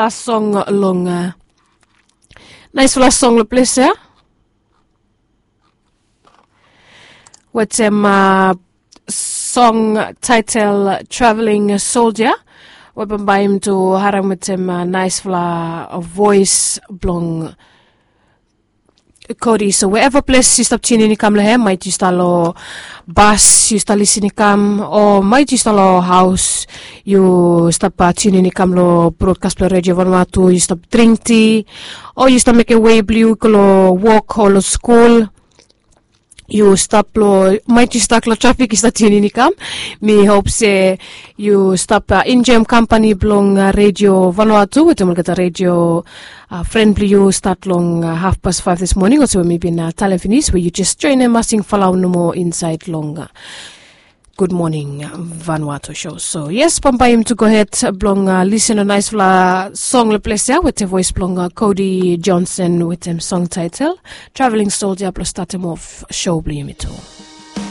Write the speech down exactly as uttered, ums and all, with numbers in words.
song long naispela song long ples ya, wetem song title Traveling Soldier, we bambae yumi tu harim wetem naispela voes blong Kodi. So wherever ples yu stap tunin i kam long hem, maet yu stap long bas yu stap lisin i kam, o maet yu stap long haus yu stap tunin i kam long brodkas blong redio vanua tu, yu stap dring ti, o yu stap mekem wei blong yu go long wok o long skul, yu stap long maet yu stap long trafik yu stap tunin i kam. Mi hop se yu stap enjoem kampani blong redio vanua tu wetem olgeta redio fren blong yu stat long hafpas faef dis moning olsem we mi bin talem finis we yu jes joenem masing falaon nomo insaed long gud moning vanua tu sho. So yes, bambae yumi tu gohed blong lisin long naispela song long ples ya wetem voes blong Kodi Johnson wetem song title Traveling Soldier blong statem of sho blong yumi tu.